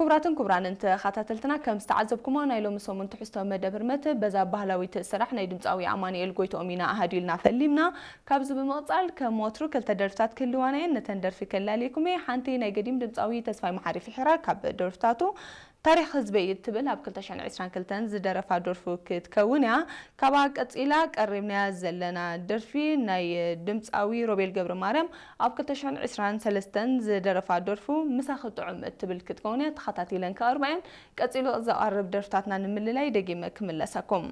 ክቡራትን ክቡራንን ተኸታተልትና፣ ከም ዝተዓዘብኩሞ ናይ ሎሚ ሰሙን ትሕዝቶ መደብ ህርመት በዛ ባህላዊት ስራሕ ናይ ድምፃዊ ኣማኑኤል ጎይትኦም ኢና ኣሃዲልና ፈሊምና። ካብዚ ብምቕፃል ከም ወትሩ ክልተ ደርፍታት ክህልዋና እየን። ነተን ደርፊ ከላልየኩም እየ። ሓንቲ ናይ ገዲም ድምፃዊ ተስፋይ መሓሪ ፍሒራ ካብ ደርፍታቱ ታሪኽ ህዝበይ እትብል ኣብ ክልተ ሽሕን ዕስራን ክልተን ዝደረፋ ደርፉ ክትከውን እያ። ካብኣ ቀፂላ ቀሪብናያ ዘለና ደርፊ ናይ ድምፃዊ ሮቤል ገብረ ማርያም ኣብ ክልተ ሽሕን ዕስራን ሰለስተን ዝደረፋ ደርፉ ምሳኺ ጥዑም እትብል ክትከውን እያ። ተኸታቲለን ክቐርባ እየን። ቀፂሉ ዝቐርብ ደርፍታትና ንምልላይ ደጊመ ክምለሰኩም።